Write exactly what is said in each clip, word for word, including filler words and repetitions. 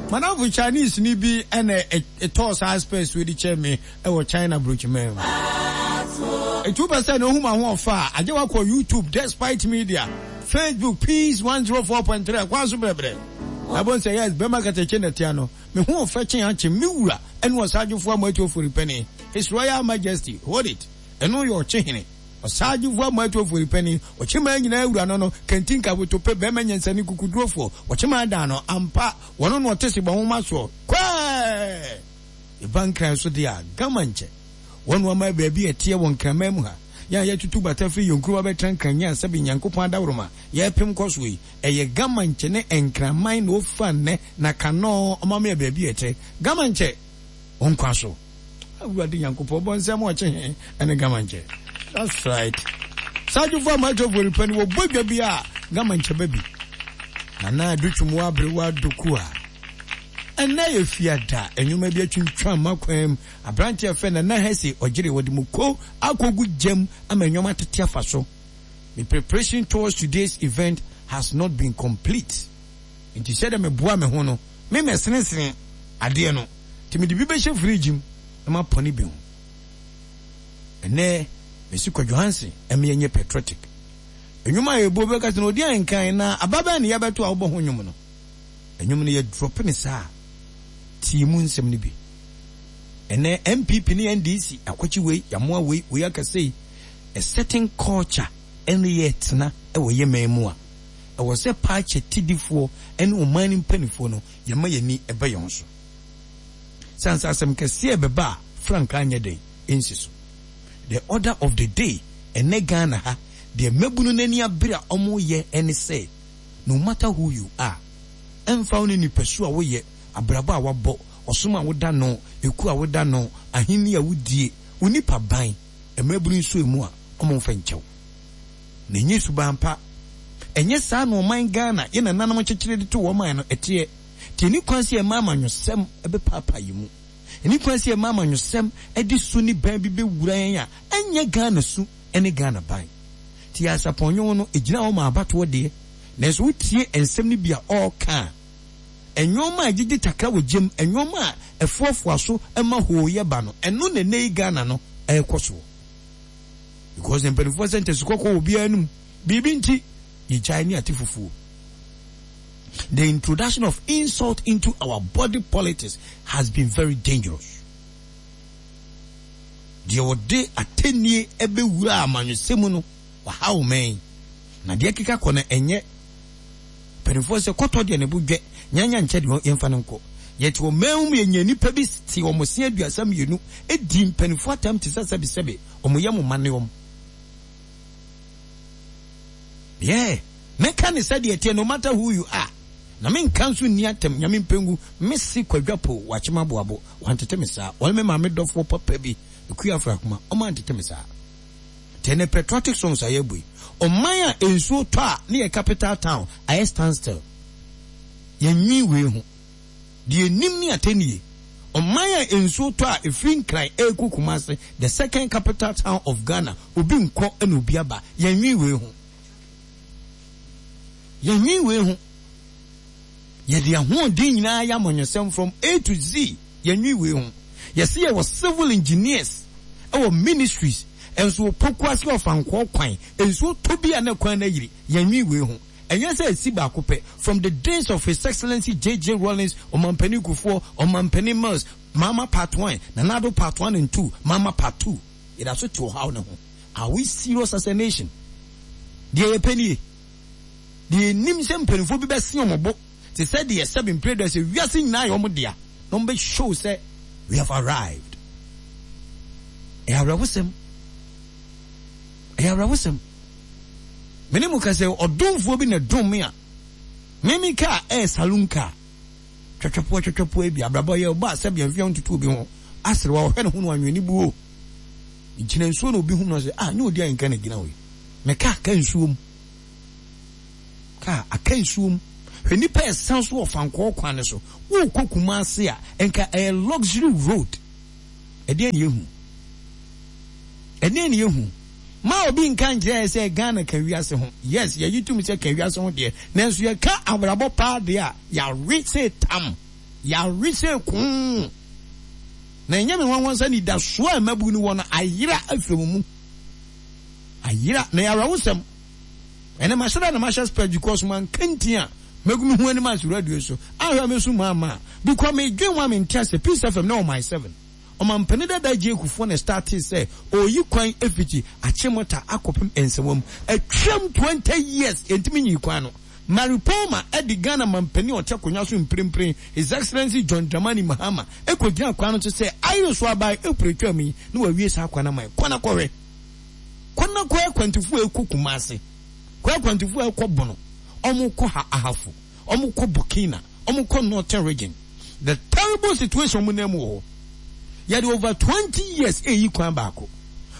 Madamfo Chinese ni bi ɛna ɛtɔɔ saa specs wei de kyerɛ me ɛwɔ China brokyimɛ mu. Etu pɛ sɛ na ohun ma ho ɔfa a, agye wakɔ YouTube, Despite Media, Facebook, Peace one zero four point three, kwan so brɛbrɛ. Ɛbɔ nsɛ yes, bɛma katakye na tia no. Me ho ɔfɛ kyen akye, me wura ɛne ɔsagyefo amoatu ofori panin. His Royal Majesty, hold it. Ɛno yɛ ɔkye hene. Ɔsagyefo amoatu ofori panin, ɔkyeman nyinaa wura no no, kantinka wotope bɛma nyansani kukudurofoɔ, ɔkyeman dan no, ampa, wɔno na ɔte se bɔ nwoma soɔ. Kwɛɛ! Eba nkran so deɛ a, gama nkyɛ. Wɔn ama baabi a ɛteɛ wɔ nkraman mu ha. Yɛn a yɛtutu bata firi yɛn kurom abɛtena nkran nyɛ sɛbe Nyankopɔn adaworoma yɛpem kɔ so yi. Ɛyɛ gama nkyɛ ne nkraman na ofa nnɛ na kanɔɔ ɔma me baabi a ɛte. Gama nkyɛ ɔnkwa so. Awurade Nyankopɔn bɔ nsɛm ɔkye he ɛne gama nkyɛ. That's right. Sadwofo a matwofo nipa ni wɔbɔ dwa bi a gama nkyɛ ba bi. Nana adutwum wɔ aberewa doku a. Ɛnnɛ yɛ fiada, nnwoma bi atwintwam m'akwan mu. Aberante a fɛ Nana Hesse ɔgyere wɔde mu ko akɔgu gyam ama nnwoma tete afa so. My preparation towards today's event has not been complete. Nti sɛdeɛ meboa me ho no, me mɛsenesene adeɛ no. Nti mede bi bɛhyɛ fridge mu na mapɔne bi ho. Ɛnnɛ, mesi Kwadwo Hansen ɛma yɛnyɛ patriotic. Nnwom a yɛbɔ bɛka sɛ na ɔdi ankan na aba bɛn ne yɛbɛto a wobɔ ho nnwom no. Nnwom no yɛ drop ne saa tie mu nsɛm no bi. Ɛnɛ N P P ne N D C akwakyi wei yamoa wei wei akasa yi, a certain culture ɛne yɛ tena ɛwɔ yɛ man mu a ɛwɔ sɛ paakyɛ tidifoɔ ɛne ɔman no mpanimfoɔ no yɛma yɛni ɛbɛ yɛn so. Sansa asɛm kɛseɛ ɛbɛba a frankaa nyɛ den ɛnsi so. The order of the day ɛnɛ Ghana ha deɛ mmabunu n'ani abere a ɔmo yɛ ɛne sɛ, no matter who you are, ɛmfa wo ne nipasu a woyɛ, abrabɔ a wabɔ, ɔsom a woda no, eku a woda no, ahenni a wodie, wo nipa ban, mmabunu nso emu a ɔmo mfa nkyɛw na enye suban pa. Ɛnyɛ saa na ɔman Ghana yɛ nananom kyekyere de to wɔn man no ɛteɛ. Tie ni kwan sɛ ɛma amanyɔsɛm ɛbɛpaapa yi mu, ɛni kwan sɛ ɛma amanyɔsɛm ɛde su ne ban bi bɛwura yɛn a ɛnyɛ Ghana su ɛne Ghana ban. Ti asapɔnwom no egyina hɔ ma abatoɔ deɛ, nanso wotie nsɛm no bi a ɔreka a, nneɛma a gyegye takra wɔ gyem, nneɛma a ɛfoafoa so ɛma hooyɛ ba no, ɛno na ɛnɛ yi Ghana no ɛrekɔ soɔ, because mpanimfoɔ sɛ ntɛsi kɔkɔɔ wɔ obiara anim biribi nti yɛgyae ne ate fufuo. The introduction of insult into our body politics has been very dangerous. Deɛ wɔde atɛnnie ɛbɛwura amanyɔsɛm no wahaw mɛn na deɛ keka kɔ no, ɛnyɛ mpanimfoɔ sɛ kɔtɔ deɛ ne bo dwɛ nyanya nkyɛ deɛ yɛmfa no nkɔ. Yɛte ɔman mu, yɛnya nipa bi te wɔn se aduasa mmienu edi mpanimfoɔ atam te sɛ sɛbisɛbi wɔn yɛ mo ma ne wɔn yɛ mɛka ne sɛdeɛ teɛ. No matter who you are, na menka nso nni atam. Nyame mpengu mesi kwadwapo wakyema boabo wantete me saa. Wɔne me maame dɔfoɔ papa bi Ekuya Afrakoma ɔma antete me saa. Tɛnɛ patriotic songs a yɛbɔ yi, ɔman a nsuo tɔ a ne yɛ capital town ayɛ stand still, yɛnwi wei ho deɛ nim ne atɛnie. Ɔman a nsuo tɔ a efiri Nkran ɛrekɔ Kumase, the second capital town of Ghana, obi nkɔ ɛna obi aba, yɛnwi wei ho, yɛnwi wei ho. Yɛde ahoɔden nyinaa yɛ amanyɔsɛm from A to Z, yɛnwi wei ho. Yɛsi yɛwɔ civil engineers ɛwɔ ministries, nso Pokuase ɔfankɔɔ kwan nsuo tɔ bi a ne kwan no ayiri, yɛnwi wei ho. Ɛnyɛ sɛ esi baako pɛ. From the days of His Excellency J J Rawlings, Ɔmampanin Kufuor, Ɔmampanin Mills, Mama part one, Nana Addo part one and two, Mama part two, yɛda so te ɔhaw ne ho. Are we serious as a nation? Deɛ yɛpɛ nie, deɛ nim sɛ mpanimfoɔ bi bɛsi wɔn bo te sɛ deɛ sɛbi mpere dɛ sɛ wiase nyinaa yɛ wɔn dea na wɔn bɛ show sɛ we have arrived. Ɛyɛ awerɛhosɛm, ɛyɛ awerɛhosɛm. Mene mu ka sɛ ɔdomfoɔ bi na dom me a meme kaa ɛyɛ saloon car twɛtwɛpoa twɛtwɛpoa bi abrabɔ yɛ ɔba sɛbi mfeɛ ntutu obi ho aserewa ɔhwɛ ne ho no anwene buo gyina nsuo na obi hu no sɛ, ah, nyɛ odi a nka na gyina hɔ yi. Me kaa ka nsuo mu, kaa aka nsuo mu. Hwɛ nipa ɛsan so wɔ fankɔɔ kwan ne so wokɔ Kumase a nka ɛyɛ luxury road. Ɛdeɛ ne yɛhu, ɛdeɛ ne yɛhu ma obi nka nkyerɛ yɛ sɛ Ghana ka wiase ho. Yes, yɛyi tum sɛ ka wiase ho deɛ, nanso yɛka abrabɔ paa deɛ a yɛawe sɛ tam. Yɛawe sɛ koo. Na ɛnyɛ me nwanwa sɛ anidasoɔ a mmabu no wɔ no ayera afiri wɔn mu. Ayera. Na ɛyɛ awerɛhosɛm. Ɛnɛ mahyɛ da na mahyɛ spɛs because manka nti a mɛgu me ho anim ase radio so. Ahwɛ me so maa maa. Because medwen ho a mente ase. Peace F M na ɔman seven. Ɔmampanin dada J. Kufuor na ɛstartee sɛ ɔreyi kwan afiti Achimota akɔpem Nsawam. Atwam twenty years yɛntumi nyii kwan no. Mary Palmer de Ghana mampanin a ɔte akonnwa so mprempren, His Excellency John Dramani Mahama, kɔgyinaa kwan no so sɛ ayere so aban April twam yi na wawie saa kwan no ama yɛn. Kɔ na kɔhwɛ. Kɔ na kɔ akwantufo a ɛkɔ Kumasi. Kɔ akwantufo a ɛkɔ Bono. Wɔkɔ ha Ahafo. Wɔkɔ Burkina. Wɔkɔ Northern Region. The terrible situation wɔn nam mu wɔ hɔ. Yɛde over twenty years eyi kwan baako.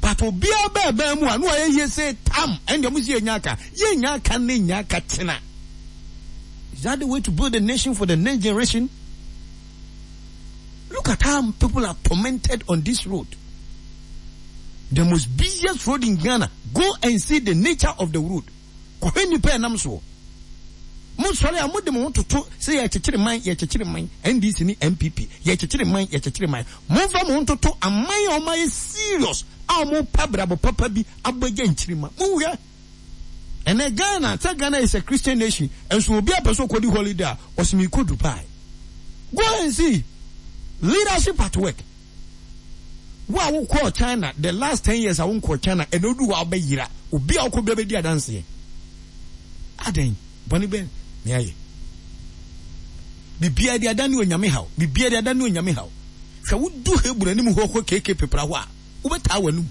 But obiara bɛɛ bɛn mu a na wayɛ yie sɛ tam ɛnde ɔmo si yɛnya aka. Yɛnya aka ne nya aka tena. Is that the way to build a nation for the next generation? Look at how people are tormented on this road. The most busiest road in Ghana. Go and see the nature of the road. Kɔhwɛ nnipa a ɛnam soɔ. Mosɔre a mode mo ho toto sɛ yɛrekyekyere man, yɛrekyekyere man, N D C ne N P P, yɛrekyekyere man, yɛrekyekyere man. Momfa mo ho ntoto aman a wɔayɛ serious a wɔrepɛ abrabɔ papa bi abɔ agya nkyirimma. Monhwɛ. Ɛnɛ Ghana, sɛ Ghana is a Christian nation, nso obi a pɛ sɛ ɔkɔdi holiday a, ɔse merekɔ Dubai. Go and see. Leadership at work. Wo a wokɔɔ China the last ten years a wonkɔɔ China ɛna odu hɔ a wobɛyera. Obi a wokɔ bia bɛdi adanseɛ. Adɛn? Bɔne bɛn na yɛayɛ? Biribiara de ada ne Onyame haw. Biribiara de ada ne Onyame haw. Hwɛ wodu Hebron anim hɔ kɔ K K Pepra hɔ a, wobɛtaa w'anum.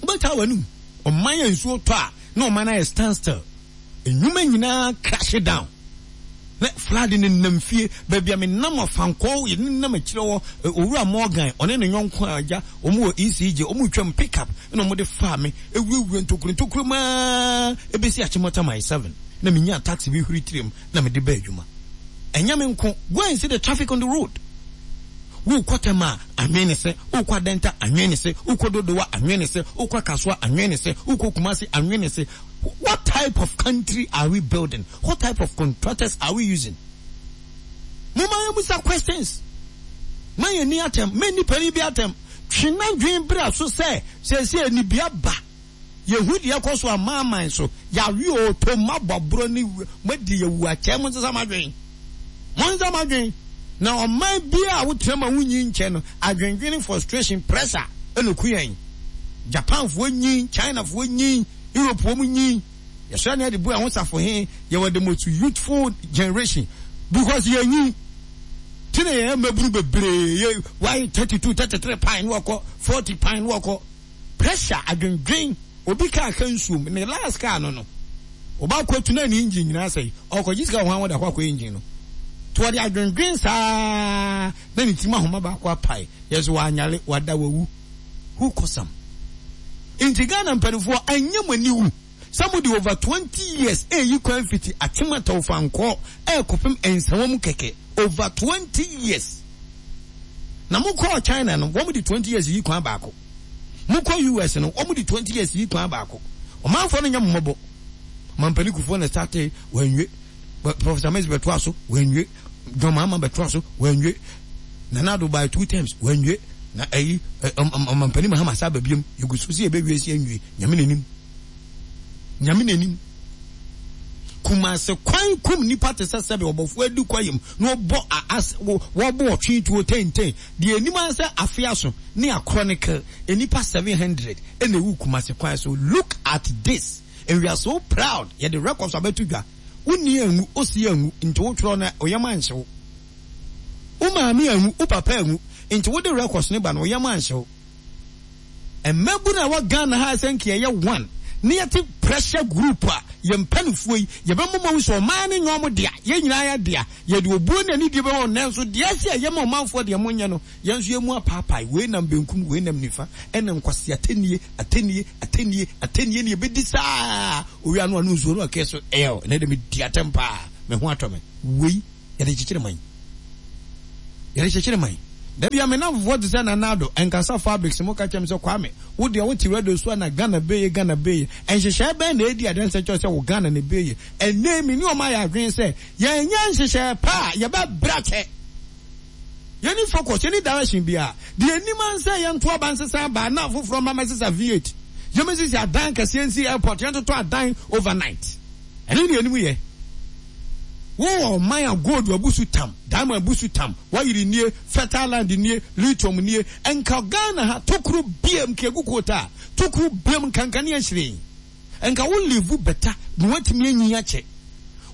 Wobɛtaa w'anum. Ɔman a nsuo tɔ a na ɔman no ayɛ stand still. Nnwuma nyinaa crash down. Na flood no nenam fie. Baabi a menam Afankɔɔ, yɛde nenam akyire hɔ, Owura Morgan, ɔne ne yɔnko a agya, wɔn wɔ E C J, wɔn retwam pick up, ɛna wɔde faa me, ewurawura ntokuro ntokuro mu ara, ebesi Achimota mile seven. Na menyaa taxi bi huri tirim, na mede baa adwuma. Ɛnyɛ me nko, go and see the traffic on the road. Wokɔ Tema a, anwene ne se, wokɔ Adenta, anwene ne se, wokɔ Dodowa, anwene ne se, wokɔ Kasoa, anwene ne se, wokɔ Kumasi, anwene ne se. What type of country are we building? What type of contractors are we using? Moma yɛmmisa questions. Ma yɛnni atɛm. Ma nni panin bi atɛm. Twe n'adwene bra so sɛ seesei anibia ba. Yɛhu deɛ ɛkɔ so amanaman so. Yɛawe oo, tom, moabɔ aborɔ ne moadi awu akyɛ. Monsesa mo adwene. Monsesa mo adwene. Na ɔman biara a wotena mu a wonyi nkyɛ no, adwendwene, frustration, pressure ɛna ɛku yɛn. Japanfoɔ nyin, Chinafoɔ nyin, Europe wɔn nyin. Yɛsɔre na yɛde bu ɛho safohe. Yɛwɔ the most youthful generation because yɛnyin. Ti na yɛyɛ mmabunu bebree. Yɛ why thirty two, thirty three pan na wɔkɔ, forty pan na wɔkɔ. Pressure, adwendwen. Obi kaa ka nsuom, ne last car no no. Ɔba akɔtu na ne engine nyinaa asɛe. Ɔkɔgye sika wɔ hwan hɔ de akɔ akɔyɛ engine no. Nti ɔde adwendwen saa na ne tirim ahoma baako apae. Yɛse wanyare, wada, wawu. Who cause am? Nti Ghana mpaninfoɔ ɛnyɛ mo aniwu sɛ mo de over twenty years ɛɛyi kwan fiti Akyem Atawfankɔɔ ɛɛkɔpem Nsawa mu kɛkɛ over twenty years. Na mo kɔɔ China no wɔn de twenty years yi kwan baako. Mo kɔ U S no wɔn de twenty years yi kwan baako. Ɔmanfoɔ no nyɛ mo mmɔbɔ. Mampanin Kufuor na startee wanwie. Professor Mills bɛtoa so wanwie. John Mahama bɛtoa so wanwie. Nana Addo by two terms wanwie. Na ɛyi ɔmampanin Mahama sa aba biom. Yɛgu so sɛ yɛbɛwie sɛ yɛnwie. Nyame n'anim. Nyame n'anim. Kumase kwan kum nipa te sɛ sɛbe ɔbɔfoɔ adi kwayam na ɔbɔ as wɔbɔ ɔtwe tuo tenten. Deɛ anim ara sɛ afe aso ne akorɔ nnipa seven hundred ɛna ewu Kumase kwan so. Look at this. And we are so proud. Yɛde records abɛto dwa. Wonni anwu, osi anwu, nti wotwerɛ no oyam anhye wo. Wo maame anwu, wo papa anwu, nti wode records no ba no oyam anhye wo. Mmabunu a ɛwɔ Ghana ha sɛ nka yɛyɛ one na yɛte pressure group a yɛn mpanimfoɔ yi yɛbɛma wɔn ahu sɛ ɔman no nyɛ wɔn dea, yɛn nyinaa yɛ dea. Yɛde obuo ne anidie bɛma wɔn nanso deɛ ɛsɛ yɛyɛ ma ɔmanfoɔ deɛ monyɛ no, yɛn nso yɛn mu apaapae, wei nam benkum, wei nam nifa, ɛna nkwasi atɛnnie, atɛnnie, atɛnnie, atɛnnie ne yɛbɛdi saa. Owia no ano nsuo no ɔkɛ so ɛl, ɛnɛ de medi atɛm paa, me ho atɔ me. Wei yɛde kyekyere man. Yɛde kyekyere man. Da bia me namfofoɔ te sɛ Nana Addo, Nkasa Fabrics mo ka kyerɛ me sɛ Kwame, wo deɛ wote radio so a na Ghana beye, Ghana beye. Nhyehyɛɛ bɛn na ɛredi adanse kyerɛ sɛ wo Ghana na ɛbeye? Ɛnnɛ yi me ne wɔn ayɛ adwene sɛ yɛnyɛ nhyehyɛɛ pa a yɛbɛbrɛ akyɛ. Yɛnni focus, yɛnni direction biara. Deɛ yɛnim ara ne sɛ yɛnto aba nsesa aba na afoforɔ mma mmɛsesa V eight. Yɛmmɛsisi adan kɛseɛ nsi airport, yɛntotɔ adan overnight. Ɛno ne yɛnim yɛ. Wowɔ ɔman a gold abu so tam, diamond abu so tam, wayere nie, fertile land nie, lithium nie, nka Ghana ha tokuro biam nka egu quota a, tokuro biam nka nkanea hyerɛn. Nka wo live better na watumi anyin akyɛ.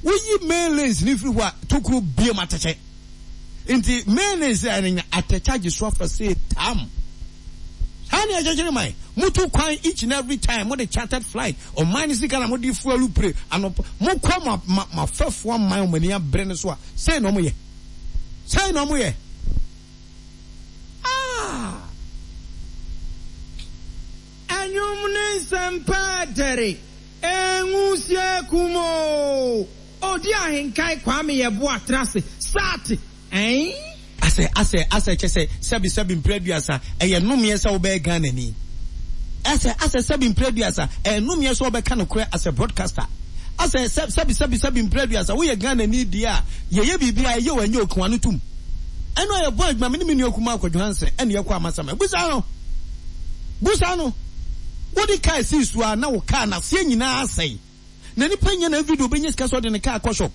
Woyi main lanes no firi hɔ a, tokuro biam atɛkyɛ. Nti main lanes a ɛno nya atɛkyɛ agye so afa sei tam. Saa ne ɛkyekyere man. Motu kwan each and every time, mode chartered flight, ɔman no sika na mode fuel pire anɔpa. Mokɔ mo mo afɛfoɔ aman wɔn ani abere no so a, sei na wɔyɛ. Sei na wɔyɛ. Ah! Ɛnwom ne nsɛmpa dɛre, Enwusie kum oo. Odi ahenkan Kwame Yeboah tra ase, start ɛn. Asɛ asɛ asɛ kyɛ sɛ sɛbi sɛbi mprɛ aduasa ɛyɛ nnomeɛ sɛ wobɛyɛ Ghanani asɛ asɛ sɛbi mprɛ aduasa ɛyɛ nnomeɛ sɛ wobɛka nokorɛ as a broadcaster asɛ sɛ sɛbi sɛbi sɛbi mprɛ aduasa woyɛ Ghanani deɛ a yɛyɛ biribi a ɛyɛ o ɛnyɛ o ka w'ano tom ɛno a yɛbɔ adwuma me ne me nua kumaa Kwadwo Hansen ɛne yɛkɔ Amasaman busa no busa no wode kaa sii so a na wo kaa no aseɛ nyinaa asɛe na nipa nya na everyday obɛnya sika sɛ ɔde ne kaa kɔ shop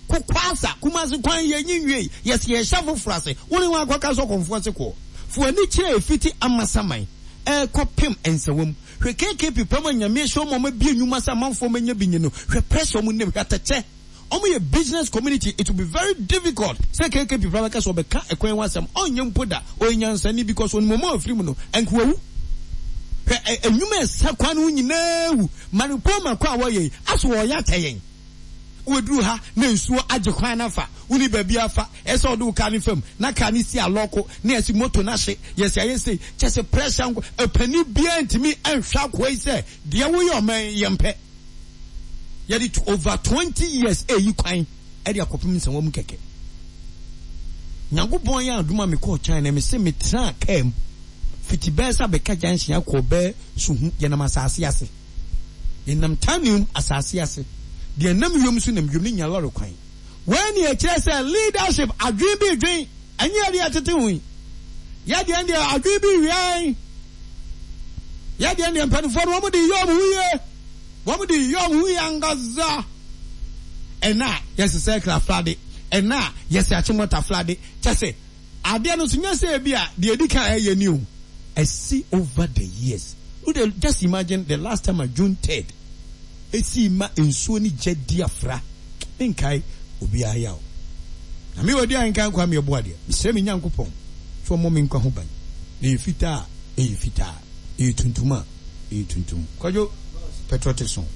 Kokwasa, Kumasi kwan yɛ nyi nwiei, yɛse yɛhyɛ foforɔ ase, wo ne hwan akɔka sɛ ɔkɔmfoɔ se kɔɔ? Fa w'ani kyerɛ ɛfiti Amasaman ɛrekɔ pem Nsawam, hwɛ K K P pam a Nyame ahyira wɔn a wɔabue nnwuma sɛ amanfoɔ mmɛnya bi nye no, hwɛ pressure wɔn nam, hwɛ atɛkyɛ, wɔn yɛ business community, it will be very difficult sɛ K K P koraa bɛka sɛ ɔbɛka ɛkwan ho asɛm, ɔnyɛ mpo da, ɔyɛ nyansani because ɔnim wɔn a wɔfiri mu no, ɛnka wawu. Hwɛ ɛ nnwuma a ɛsa kwan no ho nyinaa wu, Maripoma kwan a wɔyɛ yi, aso wɔreyɛ akyɛ yɛn? Woduru ha na nsuo agye kwan no afa, wonni baabi afa, ɛsɛ sɛ wode wo car no fam na car no si alɔko na yɛse moto no ahye, yɛse ayɛ sei, kyerɛ sɛ pressure nko, ɔpanin biara ntumi nhwɛ akoa yi sɛ deɛ woyɛ ɔman yi yɛmpɛ. Yɛde over twenty years ɛreyi kwan de akɔpem nsɛnwa mu kɛkɛ. Nyankopɔn yɛ adom a mekɔɔ China, mese metraa car mu fiti bɛyɛ sɛ abɛka junction akɔ bɛyɛ Suhu, yɛnam asase ase. Yɛnam Tanium asase ase. Deɛ ɛnam wiem nso nam wiem ne nya lɔre kwan. Wei ne ɛkyerɛ sɛ leadership adwene bi redwen, ɛnyɛ yɛdeɛ yɛtete ho yi. Yɛdeɛ deɛ adwene bi rewɛn. Yɛdeɛ deɛ mpanimfoɔ no wɔn de yɛ wɔn ho yie. Wɔn de yɛ wɔn ho yie ankasa. Ɛna a yɛsɛ sɛ aflade, ɛna a yɛsɛ akyemɔta flade. Kyɛ sɛ adeɛ no nso nyɛ sɛ ebi a deɛ edi kan ɛyɛ ni o. Ɛsi over the years. Wo de just imagine the last time a June third esii ma nsuo ne gya di afra. Menkae obiara yaw. Na me odi ahenkan Kwame Yeboah deɛ, mesrɛ me Nyankopɔn sɛ ɔmmɔ me nkwa ho ban. Na ɛyɛ fitaa a, ɛyɛ fitaa. Ɛyɛ tuntum a, ɛyɛ tuntum. Kwadwo, patriotic song.